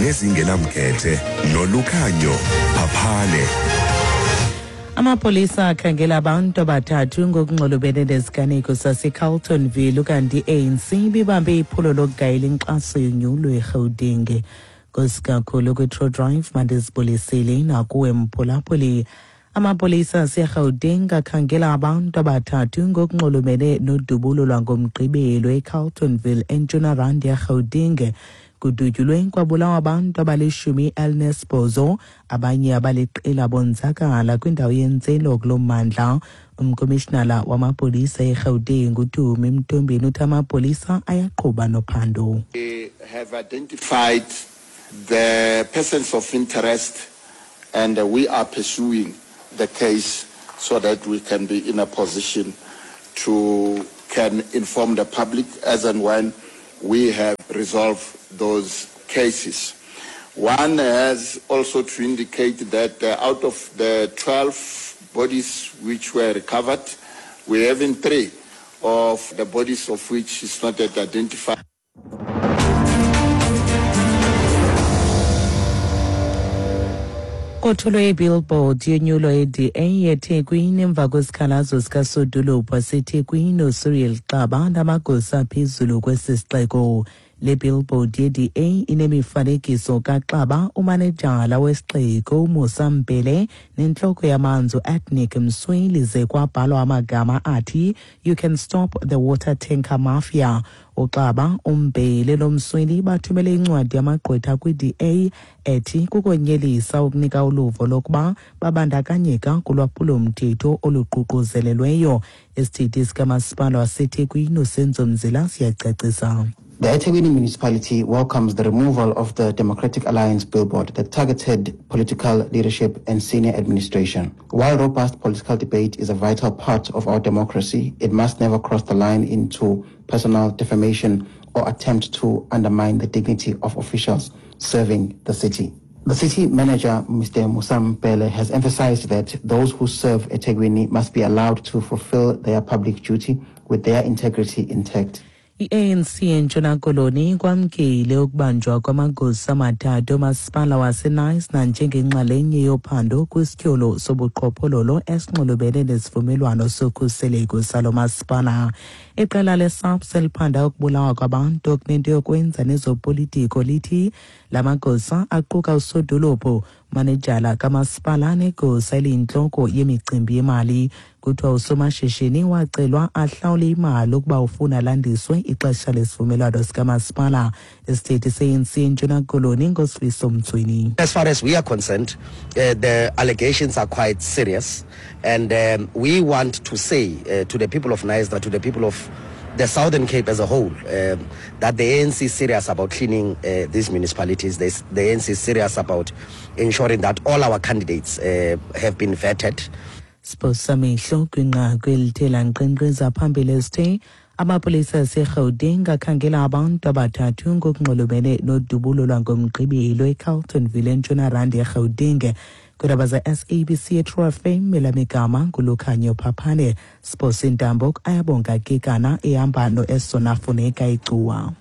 nezingenamkhethe nolukhanyo phaphane. Amapolisa akhangela abantu abathathu ngokunxulumene nesiganeko saseCarltonville ukanti i-ANC ibibambe iphulo lokugayela inkxaso yonyulo eRhawuteng. Nkosi kakhulu kwi-True Drive mandizibulisile nakuwe mphulaphuli. Amapolisa aseRhawuteng akhangela abantu abathathu ngokunxulumene nodubulo lwangomgqibelo eCarltonville eNtshona Rand yeRhawuteng. Kudutyulwe kwabulawa abantu abalishumi elinesibhozo, abanye abaliqela bonzakala kwindawo yentselo kulo mmandla. Umkomishinala wamapolisa eRhawuteng uTumi Mtombeni uthi amapolisa ayaqhuba nophando. We have identified the persons of interest and we are pursuing the case so that we can be in a position to can inform the public as and when we have resolved those cases. One has also to indicate that out of the 12 bodies which were recovered, we have in 3 of the bodies of which is not yet identified. Kothulwe ibillboard yonyulo ye-DA yeThekwini emva kwesikhalazo sikasodolophu waseThekwini uCyril Xaba namagosa aphezulu kwesi sixeko. Le billboard ye-DA inemifanekiso kaXaba, umanejala wesixeko uMusa Mbhele nentloko yamanzi uAdnick Msweli ze kwabhalwa amagama athi You can stop the water tanker mafia. uXaba, uMbhele noMsweli bathumele incwadi yamagqwetha kwi-DA ethi kukonyelisa ukunika uluvo lokuba babandakanyeka kulwaphulomthetho oluququzelelweyo. Isithethi sikamasipala waseThekwini uSenzo Mzila siyacacisa. The eThekwini municipality welcomes the removal of the Democratic Alliance billboard that targeted political leadership and senior administration. While robust political debate is a vital part of our democracy, it must never cross the line into personal defamation or attempt to undermine the dignity of officials serving the city. The city manager, Mr. Musa Mbhele, has emphasized that those who serve eThekwini must be allowed to fulfill their public duty with their integrity intact. I-ANC eNtshona Koloni kwamkele ukubanjwa kwamagosa amathathu omasipala waseKnysna njengenxalenye yophando kwisityholo sobuqhophololo esinxulumene nesivumelwano sokhuseleko salo masipala. Iqela leSAPS eliphanda ukubulawa kwabantu okunento yokwenza nezopolitiko lithi la magosa aquka usodolophu, manejala kamasipala negosa eliyintloko yemicimbi yemali. Kuthiwa usomashishini wacelwa ahlawule imali ukuba ufuna landiswe ixesha lesivumelwano sikamasipala. Isithethi se-ANC eNtshona Koloni ngoSifiso Mtsweni. As far as we are concerned, the allegations are quite serious, and we want to say to the people of Knysna, to the people of the Southern Cape as a whole, that the ANC is serious about cleaning these municipalities. The ANC is serious about ensuring that all our candidates have been vetted. Siphosamehlo kwinqaku elithe lankqenkqeza phambili esithe amapolisa aseRhawuteng akhangela abantu abathathu ngokunxulumene nodubulo lwangomgqibelo eCarltonville eNtshona Rand eRhawuteng. Kwiindaba ze-SABC eTrue FM elamigama nguLukhanyo Phaphane. Siphosa intambo ayabonga Kekana ehamba noEsona Funeka iGcuwa.